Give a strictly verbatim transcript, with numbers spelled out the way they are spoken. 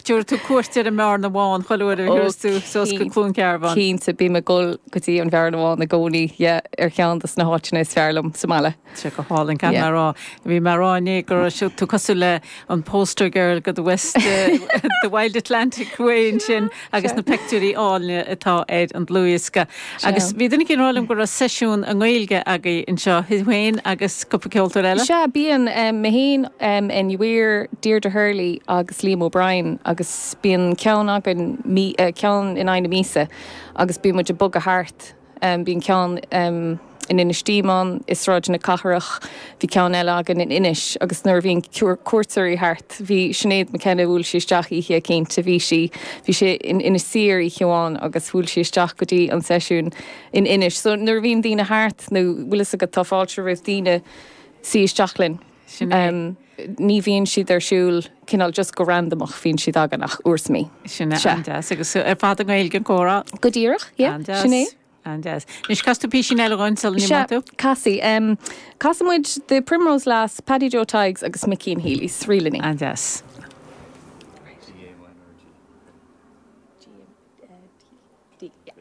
tabharfaidh tú cuairt ar an mBearna Bhán chuile uair a thiúrfas tú suas go Cluain Cearbán. Cinnte, bím ag dul go dtí an Bhearna Bhán i gcónaí, yeah, ar cheann de na háiteanna is fearr liom sa mbaile. Sé go hálainn gan yeah. rá. Bhí mé rá inné go raibh tú cosúil le an poster girl go the West uh, the Wild Atlantic Way sin agus na pictiúirí áille atá ar an dlúthdhiosca. Agus bhí duine éigin ag rá liom go raibh seisiún i nGaeilge agaibh anseo féin agus cúpla ceoltóir eile. Sea bíonn um, mé féin um, Enya Weir, Deirdre Hurley agus Liam O'Brien agus bíonn ceann againn uh, ceann in aghaidh na míosa agus bíonn muid ag bogadh thart um, bíonn ceann um, in Inis Díomán i Sráid na Cathrach bhí ceann eile againn in Inis agus nuair bhíonn cuairteoirí thart bhí Sinéad McKenna bhuail sí isteach oíche cinnte bhí sí bhí sé in Inis Oírr oíche amháin agus bhuail sí isteach go dtí an seisiún in Inis. So nuair bhíonn daoine thart nó bhfuil go tá fáilte roimh daoine suí isteach linn. Um, ní bhíonn siad ar siúl cineál just go randomach bíonn siad againn ach uair sa mhí. Sin an-deas agus ar fad i nGaeilge an comhrá? Go díreach, sin é. An-deas. Anois cas tú písín eile dhúinn sula n-imeoidh tú? Casfaidh. Um, Casfaidh muid The Primrose Lass, Paddy Joe Tighes agus Mickey and Healy's, Rílini. An-deas. G, D, yeah.